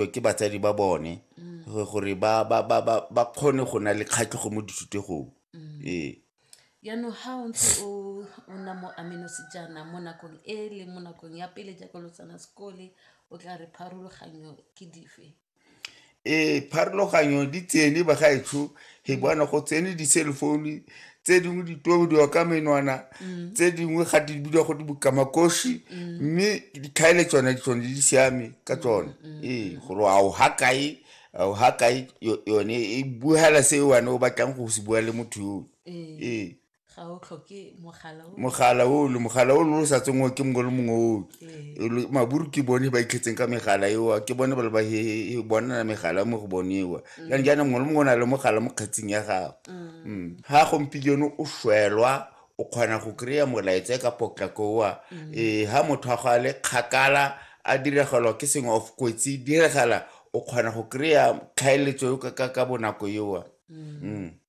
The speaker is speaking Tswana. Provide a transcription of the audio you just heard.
Ke batsadi ba bone gore ba kgone go na le kgatlhego mo dithutegong, ee. Jaanong ga o ntse o nna mo Aminosi jaana mo nakong e le mo nakong ya pele jaaka lo tsena sekole, o tla re pharologanyo ke dife? Ee, pharologanyo di tsene bagaetsho, he bona go tsene di-cell phone tse dingwe di tobodiwa ka menwana, tse dingwe ga di bidiwa go di bokamakoši, mme ditlhaele tsone di tsone di siame ka tsone. Ee, gore a o ha kae, a o ha kae, yone e buela se wena o batlang go se bua le motho yo. Ee. Ga o tlhoke mogala o. Mogala o le mogala o le o sa tsengwe ke mongwe le mongwe o. Maburu ke bone ba itlhetseng ka megala eo, ke bone ba le ba he bona megala mo go bone eo. Jaanong jaana mongwe le mongwe o na le mogala mo kgetsing ya gagwe. Ga gompieno o shwelwa, o kgona go kry-a molaetsa ka potlako oa. Ee, ga motho a go a le kgakala a diregelwa ke sengwe of kotsi diragala, o kgona go kry-a tlhaeletso ka bonako eo.